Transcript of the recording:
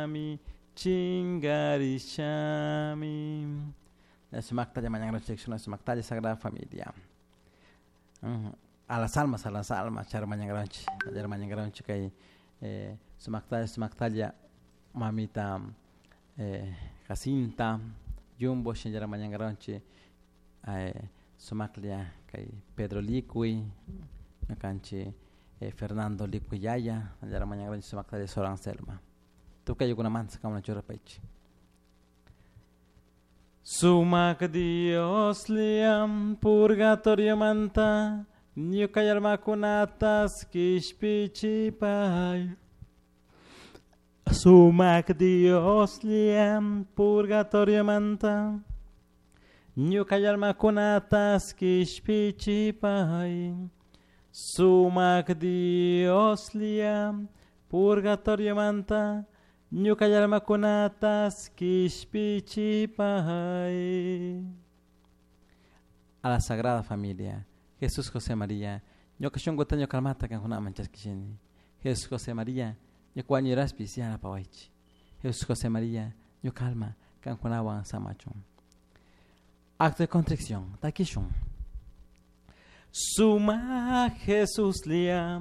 Chingarishami, chingarishami. Sumaktalla mañanranchik, sumaktalla Sagrada Familia. A las almas, a las almas, char mañanranchik, char mañanranchik kay sumaktalla, sumaktalla mamita Jacinta, Jumbo, shinallara mañanranchik sumaklla kay Pedro Liqui, ñukanchik Fernando Liqui yaya, shinallara mañanranchik sumaktalla Sor Anselma. Tukuy ayukunamanta kankuna churapaychik. Sumak Dioslla purgatoriomanta ñuka almakunatas kishpichipay. Sumak Dioslla purgatoriomanta ñuka almakunatas kishpichipay. Sumak Dioslla purgatoriomanta ñuka almakunatas kishpichipay. A la Sagrada Familia, Jesús José María, ñuka shunkuta ñuka almata kankunaman chaskishini. Jesús José María, ñuka wañuraspis yanapawaychik. Jesús José María, ñuka alma kankunawan samachun. Acto de contrición, takishun. Suma Jesús lia,